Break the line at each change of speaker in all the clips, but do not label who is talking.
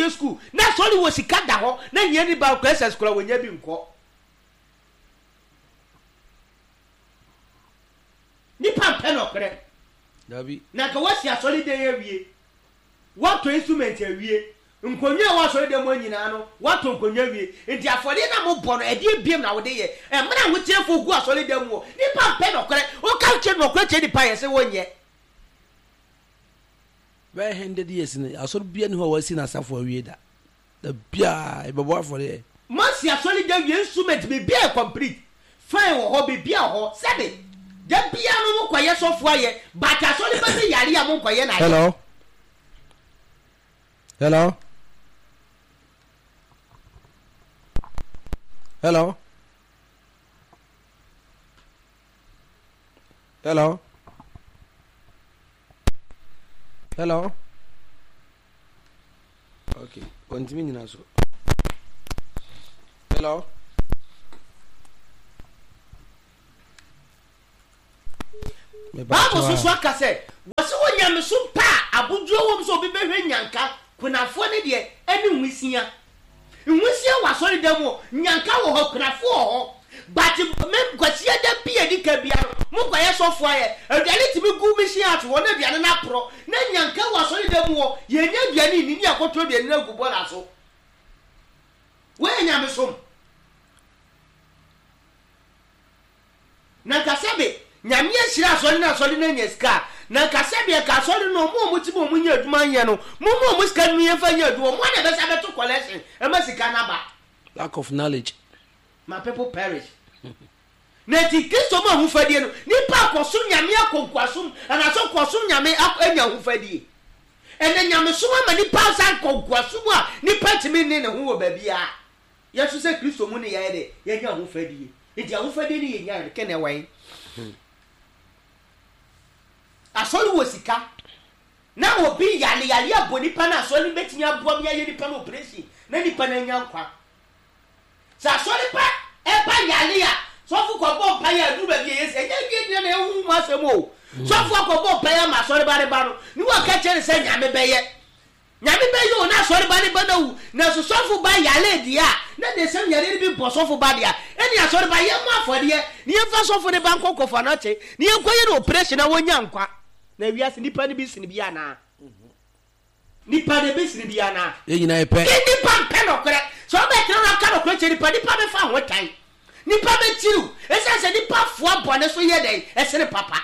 awie sukuu, na asɔre wɔ sika da hɔ, na hiani ba kɔ SS koraa wɔnya bi nkɔ. Nipa mpɛ nɔkorɛ.
Dabi.
Na nka woasi asɔredan awie, woatɔ instrument awie, nkonnwa a ɛwɔ asɔredan mu hɔ nyinaa no, woatɔ nkonnwa awie. Nti afɔdeɛ no a mobɔ no, ɛdeɛn biom na wode yɛ? Mmerɛ a ahoteɛfoɔ gu asɔredan mu hɔ, nipa mpɛ nɔkorɛ. Woka kyerɛ nɔkorɛ kyerɛ nipa a, yɛse wonyɛ.
Bɛyɛ hundred years ni, asɔre biara nni hɔ a wɔasi n'asafo awie da. Da biara yɛbɛbɔ afɔreɛ.
Moasi asɔredan wie instrument biribiara yɛ complete fine wɔ hɔ biribiara wɔ hɔ sɛbe da biara no mo kɔyɛ sɔfo ayɛ but asɔre ba bi yare a mo nkɔyɛ no ayɛ.
Hello hello hello hello hello. Okay, ɔntumi nyina so. Hello?
Bible so so aka sɛ wɔsi wɔ nyamesom pa a abodwoɔ wɔm sɛ obi bɛhwɛ nyanka kunafoɔ ne deɛ ɛne nwisia. Nwusie wɔ asɔredan mu o, nyanka wɔ hɔ, akunafoɔ wɔ hɔ, but me Kwasiada bi a ɛdi kan biara no, mo kɔyɛ sɔfoɔ ayɛ, aduane tumi gu mission house hɔ na aduane no aporɔ, na nyanka wɔ asɔredan mu hɔ, yɛnnya aduane nni ne yɛakɔto aduane no agu bɔɔla so. Wei yɛ nyamesom. Na nka sɛbe Nyame ahyira asɔre na asɔre no anya sika a, na nka sɛbe ɛka asɔre no ɔmo a ɔmo te mu a ɔmo nya adwuma nyɛ no, momma ɔmo sika no yɛmfa nyɛ adwuma, ɔmo ara na ɛbɛsa abɛto collection ɛma sika no aba.
Lack of knowledge.
My people perish. Na nti Kristo mu ahofadie no, nipa akɔsom Nyame akɔ nkoasom anaasɛ ɔkɔsom Nyame anya ahofadie. Ɛnɛ nyamesom ama nipa asan kɔ nkoasom a nipa ntumi nne ne ho wɔ baabiara. Yɛn nso sɛ Kristo mu ne yɛayɛ dɛ, yɛanya ahofadie. Nti ahofadie no yɛnyaeɛ no, kɛ na ɛwɔ he? Asɔre wɔ sika. Na obi yare, yare abɔ nipa no, asɔre no bɛtumi aboa me ayɛ nipa no operation na nipa no anya nkwa. Sɛ asɔre ba ɛba yare a, sɔfo kɔbɔ mpaeɛ a, ɛduru baabi a ɛyɛ sɛ, ɛnyɛ awie nyina na ɛyɛ honhom mu asɛm o. Sɔfo akɔbɔ mpaeɛ ama asɔre ba no ba no, ne waka kyerɛ no sɛ Nyame bɛyɛ. Nyame bɛyɛ o na asɔre ba ne ba no awu nanso sɔfo ba yaree deɛ a na deɛ sɛm yareɛ no bi bɔ sɔfo ba deɛ a ɛne asɔre ba yɛmmɔ afɔdeɛ na yɛmfa sɔfo no ba nkɔ kɔfɔnɔkye na yɛnkɔ yɛ no operation na wɔnya nkwa na wiase nipa no bi sene bi anaa nipa no bi sene bi anaa
Yɛn nyinaa yɛ pɛ.
Ke nipa mpɛ nɔkorɛ sɛ wobɛtena no aka nɔkorɛ kyerɛ nipa nipa bɛfa ho tan nipa bɛkyiriw ɛsiane sɛ nipa foa bɔne so yɛ dɛn ɛsene papa.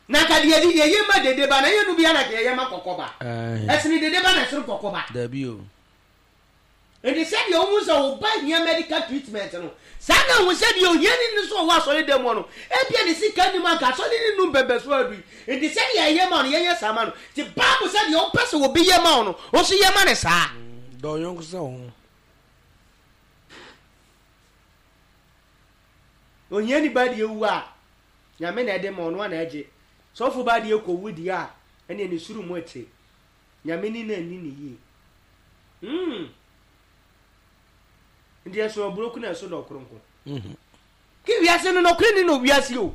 Na nka deɛ yɛde yɛyɛ ma dede ba na ɛnyɛ no bia na nka yɛyɛ ma kɔkɔ ba. Ɛsene dede ba na ɛsene kɔkɔ ba.
Dabi o.
Nti sɛdeɛ wohu sɛ wo ba hia medical treatment no, saa na hu sɛ deɛ ohiani no nso ɔwɔ asɔre dan mu hɔ no, ebia ne sika nni mu anka asɔre no nnu mpɛmpɛsoɔ adu yi. Nti sɛdeɛ yɛyɛ ma wo no, yɛnyɛ saa ma no. Nti Bible sɛ deɛ wopɛ sɛ obi yɛ ma wo no, wo nso yɛ ma no saa.
Dɔ wo yɔnko sɛ wo ho.
Ohiani ba deɛ wu a, Nyame na ɛde ma, ɔno ara na ɛgye. Sɔfo ba deɛ kɔ wu deɛ a, ɛneɛ ne soro mu te. Nyame ni na nni ne yie. Mm. Nti ɛso aburoku na ɛso dɔ kronko. Mm-hmm. Ke wiase no nɔkorɛ ni na wiase o.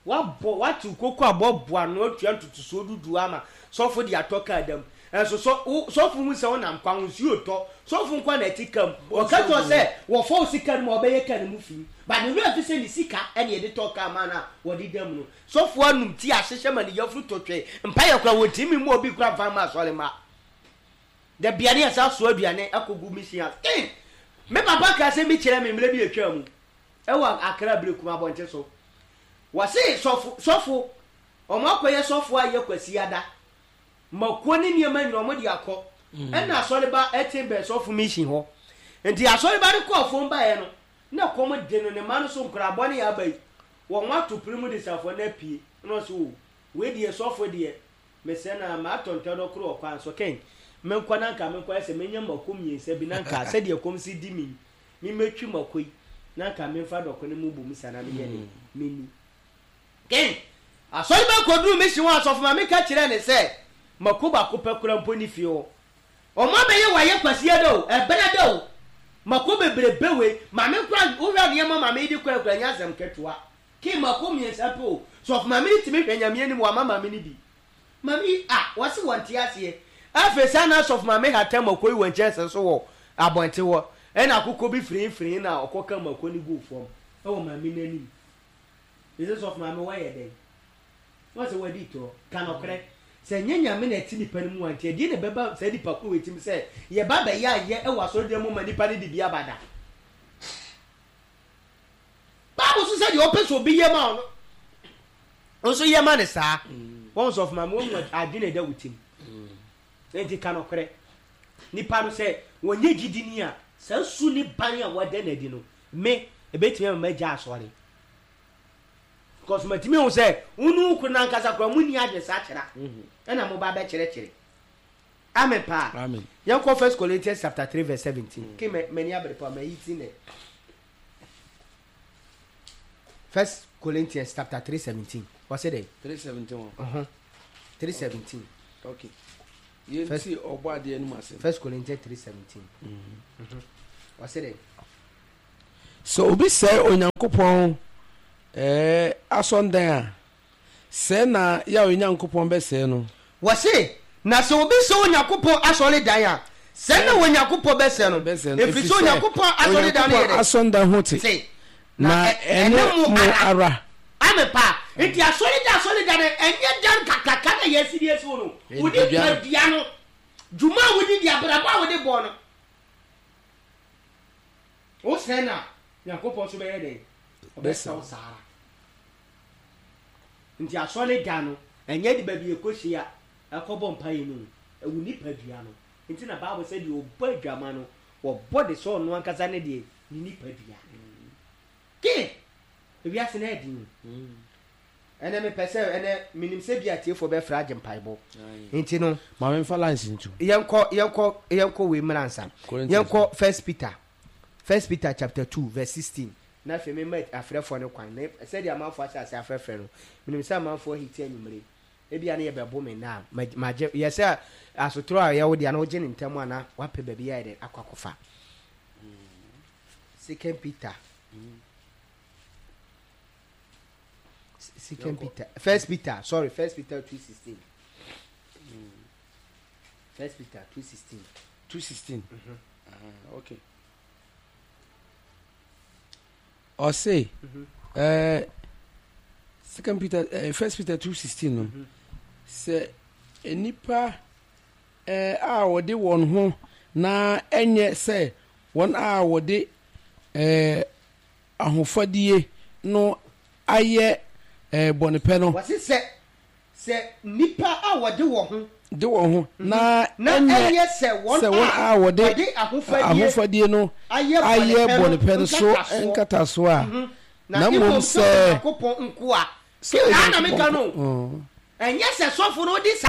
Wabɔ, watew koko abɔ boa ano atua ntotosoɔ du du ama sɔfo de atɔ kaa da mu. Nso sɔ, wo, sɔfo hu sɛ wonam kwan ho, nsuo retɔ. Sɔfo nko ara na ɛte kaa mu. Ɔka kyerɛ wo sɛ wɔfa wo sika no mu a, ɔbɛyɛ kaa no mu fi. But ne werɛ afi sɛ ne sika na yɛde tɔɔ kaa maa no a wɔde da mu no. Sɔfo anom tea ahyehyɛ ma ne yafunu tɔ twɛn. Mpaeɛ koraa, wɔntumi mmɔ obi koraa mfa mma asɔre mma. Da biara ne yɛsan soa aduane akɔgu mission house. Ei! Me papa kaa asɛm bi kyerɛɛ me mmerɛ bi a ɛtwaa mu. Ɛwɔ Accra Berekum abɔnten so. Wɔse sɔfo sɔfo wɔn akɔyɛ sɔfo ayɛ Kwasiada. Mako ne nneɛma nyina wɔn de akɔ. Ɛna asɔreba ɛte bɛn sɔfo mission hɔ. Nti asɔreba no kɔɔ fam baeɛ no na kɔm de no ne mma no so nkoraa bɔne a aba yi wɔn ato pere mu de safoa no apue. Ɛna ɔse oo wei deɛ sɔfo deɛ mesrɛ no ara matɔ ntɛdɔ koro wɔ kwan so kɛn menkɔ na nka menkɔyɛ sɛ menya mako mmiɛnsa bi na nka sɛdeɛ kɔm si di me yi Me mɛtwi mako yi na nka menfa dɔko no mu bom sa na meyɛ dɛn menni. Ken, Asɔre ba kɔduruu mission hɔ asɔfo maame ka kyerɛɛ no sɛ mako baako pɛ koraa mpo nni fie hɔ. Ɔmo abɛyɛ wayɛ kwasia da o, ɛbena da o, mako bebrebe wei, maame koraa wohwɛ nneɛma maame yi de kɔɛ koraa ɛnyɛ asɛm ketewa. Kee mako mmiɛnsa pɛ o. Sɔfo maame no tumi hwɛ Nyame anim wama maame no bi. Maame yi ah wɔse wɔnte aseɛ. Afei saa na sɔfo maame hata mako yi wɔ nkyɛnse so wɔ abɔnten hɔ. Ɛna akokɔ bi firinfirin na ɔkɔka mako no guu fam wɔ maame no anim. Mese sɔfo maame wɔyɛ dɛn? Wɔn sɛ wɔadi torɔ. Ka nɔkorɛ. Sɛ ɛnyɛ Nyame na ɛte nipa no mu a, nti ɛdeɛn na ɛbɛba saa nipa korɔ wei tirim sɛ yɛba bɛyɛ ayɛ wɔ asɔredan mu ma nipa no de bi aba da? Bible so sɛ deɛ ɔpɛ sɛ obi yɛ ma ɔno nso yɛ ma no saa. Wɔn sɔfo maame wɔn adwene ɛda wo tirim. Nti ka nɔkorɛ. Nipa no sɛ wɔnyɛ gyidini a, saa su ne ban a wɔada no adi no, me, ɛbɛtumi ama magya asɔre. Because matumi ahu sɛ wo ne wo kunu no ankasa koraa munni adwensakyera ɛna moba bɛkyerɛkyerɛ. Amen paa.
Amen.
Yɛnkɔ First Corinthians chapter 3 verse 17. Ke m'ani abere paa mayi ti nɛ. First Corinthians chapter 3 17. Ɔsɛ dɛ?
3 17 wɔ.
Uh-huh. 3 17.
Okay. Yɛnti ɔbɔ adeɛ no mu asɛm.
First Corinthians 3 17. Ɔsɛ dɛ?
Sɛ obi sɛe Onyankopɔn asɔndan a, sɛe na Yahweh Nyankopɔn bɛsɛe no.
Wɔse, Na sɛ obi sɛe Onyankopɔn asɔredan a, sɛe na Onyankopɔn bɛsɛe no, ɛfiri sɛ Onyankopɔn asɔredan no yɛ dɛn?
Asɔredan ho te, na ɛne mo ara.
Amen paa. Nti asɔredan asɔredan no, ɛnyɛ dan kakraka no a yɛasi de asi hɔ no. Wo nipadua no, dwuma a wode di, abrabɔ a wode bɔ no. Wo sɛɛ na Nyankopɔn nso bɛyɛ dɛn? Ɔbɛsɛ wo saa ara. Nti asɔre da no, ɛnyɛ de baabi yɛkɔhyia ɛkɔbɔ mpaeɛ no o, ɛwo nipadua no. Nti na Bible sɛ deɛ ɔbɔ adwama no, wɔbɔ de sɛ ɔno ankasa ne deɛ, ne nipadua. Ke! Ewiase no ɛyɛ den o. Ɛnɛ mepɛ sɛ ɛnɛ menim sɛ bi atiefoɔ bɛfrɛ agye mpaebɔ nti no.
Ma me nfa lines nto.
Yɛnkɔ yɛnkɔ yɛnkɔ wei mmra nsa. Yɛnkɔ First Peter First Peter chapter 2 verse 16 na afei mema afrɛfoɔ no kwan na sɛdeɛ amanfoɔ ahyɛ ase afrɛfrɛ no menim sɛ amanfoɔ ahiti anwummere ebia ne yɛbɛbo me nna a magye yɛ sɛ asotorɔ a ɛyɛ wo deɛ na wogye ne ntɛm a na wapɛ baabi ayɛ dɛn akɔ akɔfa Second Peter Second Peter, First Peter, sorry, First Peter 2:16. First Peter 2:16.
2:16. Mm -hmm. uh, okay. Ɔse, mm -hmm. uh, Second Peter, uh, First Peter 2:16 no. Mm -hmm. Sɛ nnipa uh, a wɔde wɔn ho na ɛnyɛ sɛ wɔn a wɔde uh, ahofadie no ayɛ bɔnepɛ no.
Wɔse sɛ, sɛ nnipa a wɔde wɔn ho.
De wɔn ho, na
na
ɛnyɛ
ɛnyɛ sɛ wɔn
sɛ wɔn
a
a wɔde
wɔde ahofadie
ahofadie no
ayɛ
ayɛ
bɔnepɛ no
bɔnepɛ no so
nkatasoɔ,
nkatasoɔ a,
na
na
mmom
mmom
sɛ
sɛ
Onyankopɔn nkoa.
sɛ
Saa na meka
Onyankopɔn
no
nko
o. Ɛnyɛ sɛ sɔfo no de saa.